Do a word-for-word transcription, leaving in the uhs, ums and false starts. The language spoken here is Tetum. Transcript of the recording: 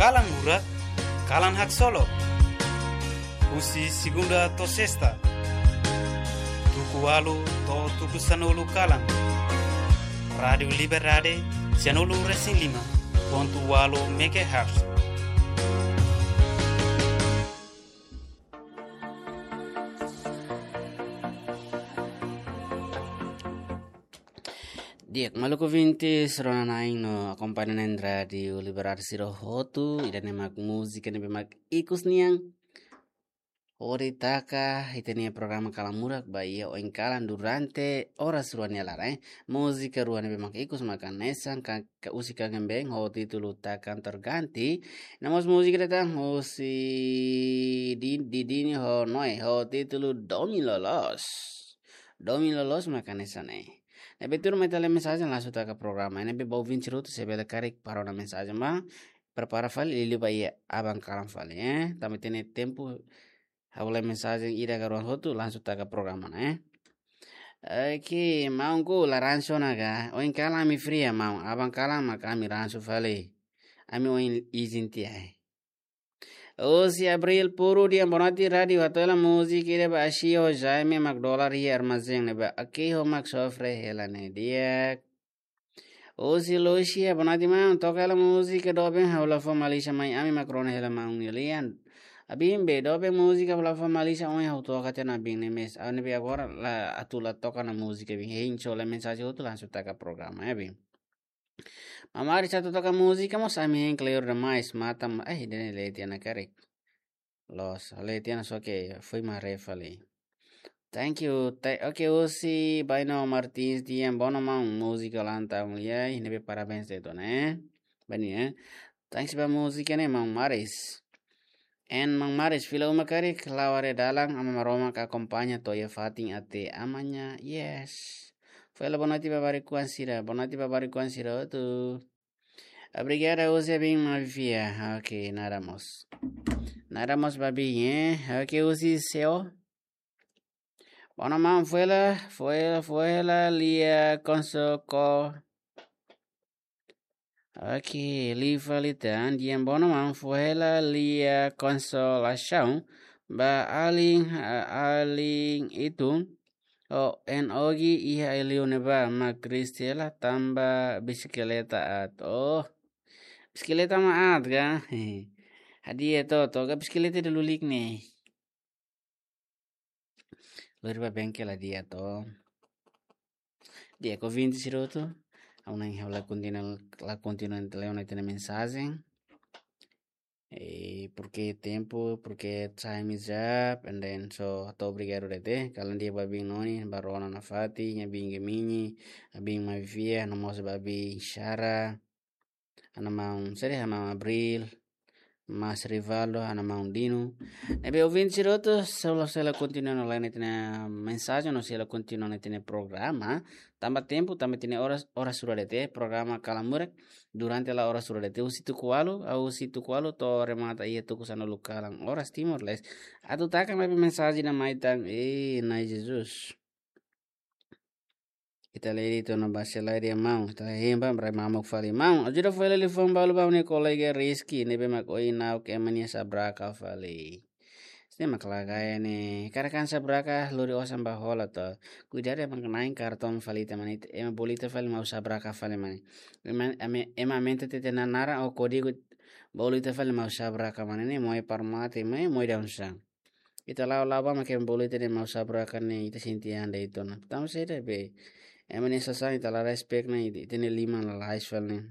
Kalan Murak, kalan haksolok. Husi segunda to'o sesta, tuku ualu to'o tuku sanulu kalan. Rádiu Liberdade, sianulu resin lima pontu ualu megahertz. Di'ak, maluk ouvintes, rona-na'in no akompaña na'in Rádiu Liberdade sira hotu, ida-ne'e mak múzika ne'ebé mak ikus nian hodi taka ita-nia programa Kalan Murak ba iha oin kalan durante oras rua nia laran, eh. Múzika rua ne'ebé mak ikus mak hanesan ka, ka husi Kangen Band ho títulu Takkan Terganti. No mós múzika ida tan husi Di-, Didini ho Noe ho títulu Domin Loloos. Domin Loloos mak hanesan ne'e. Ne'ebé tuirmai ita lee mensajen langsung taka programa. Ne'ebé ba ouvinte sira hotu se bele karik para ona mensajen ba. Prepara fali liuliu ba iha aban kalan fali, eh. Tanba ita-nia tempu, ha'u lee mensajen ida ka rua hotu langsung taka programa ne'e, eh. Oke, maun, ku la ransu ona ka. Oin kalan ami fria, maun. Aban kalan mak ami ransu fali. Ami oin izin tiha, eh. Husi Abril Puru, di'ak, boa noite rádiu, atu hela múzika ida ba Ashio Jaime mak dolar iha armazén ne'ebá. Oke, ho mak sofre hela ne'e, di'ak. Husi Lucia, boa noite maun, toka hela múzika doben, ha'u la fó malísia mai, ami mak rona hela maun nia lian. Abin be, doben múzika ha'u la fó malísia, oin ha'u toka tiha ona abin ne'e mes. Ha'u ne'ebé agora la atu la toka ona múzika abin. Hein, só lee mensajen hotu langsung taka programa, eh, abin. Maun Maris atu toka múzika mós ami hein kleur demais, matan, eh, ida-ne'e lee tiha ona karik. Loos, lee tiha ona só ke foin mak haree fali. Thank you. Te-, oke, husi Baino Martins, di'ak, boa noite maun, múzika ulang tahun liai, ne'ebé parabéns de'it ona, eh. Bani, eh. Thanks ba múzika ne'e, maun Maris. En maun Maris, fila uma karik, la'o haree dalan, Aman Maromak akompaña to'o iha fatin até amanhã. Yes. Foin hela boa noite ba barikuan sira, boa noite ba barikuan sira hotu. Obrigada, husi abin Mavivia. Oke, nada mós. Nada mós ba abin, eh. Oke, husi Seo. Boa noite maun, foin hela, foin hela, foin hela lia konsoko. Oke, liu fali tan, di'ak, boa noite maun, foin hela lia konsolasaun ba alin, a-, alin Itun. O en ogi iha ai-li'ur ne'ebá, mak Kristela tanba bisikleta aat. Oh, bisikleta mak aat ka? Hadi'a to, to ka bisikleta ida lulik ne'e. Lori ba bengkel hadi'a to. Di'ak, ouvinte sira hotu, ha'u na'in ha'u la kontinua, la kontinua atu lee ona ita-nia mensajen. Eh, porque tempu, porque time is up, and then so, hato'o obrigadu de'it. Kalan di'ak ba abin Noni, ba rona nafatin, abin Gemini, abin Mavivia, no mós ba abin Shara, ha'u-nia maun, seri ha'u-nia maun Abril, Mas Rivaldo, ha'u-nia maun Dino. Ne'ebé ouvinte sira hotu, só la, só la kontinua ona lee ita-nia mensajen, no só la kontinua ona ita-nia programa. Tanba tempu, tanba ita-nia oras, oras rua de'it, programa Kalan Murak, durante la oras rua de'it. Husi tuku ualu, ah, husi tuku ualu to'o remata iha tuku sanulu kalan oras Timor-Leste. Atu taka maibé mensajen ida mai tan, eh, Na'i Jesus. Ita lee de'it ona ba selae dia maun, ita hemba, brai mamuk fali. Maun, ajuda foin hela liafuan balu ba ha'u-nia kolega Rizky, ne'ebé mak oin na'ok ema nia sabraka fali. Sini mak lagaya ne'e, karik an sabraka lori osan ba hola to. Kuidadu ema na'in kartong fali ita mane, ema bolu ita fali mau sabraka fali mane. Ema, ema, ema aumenta ita-nia naran ou kódigu bolu ita fali mau sabraka mane ne'e, moe para mate, moe, moe daudaun sasán. Ita la'o, la'o ba mak ema bolu ita ne'e mau sabraka ne'e, ita sente an de'it ona. Tanba saida be? Ema nia sasán ita la respect ona, ita, ita-nia liman lalais fali ne'e.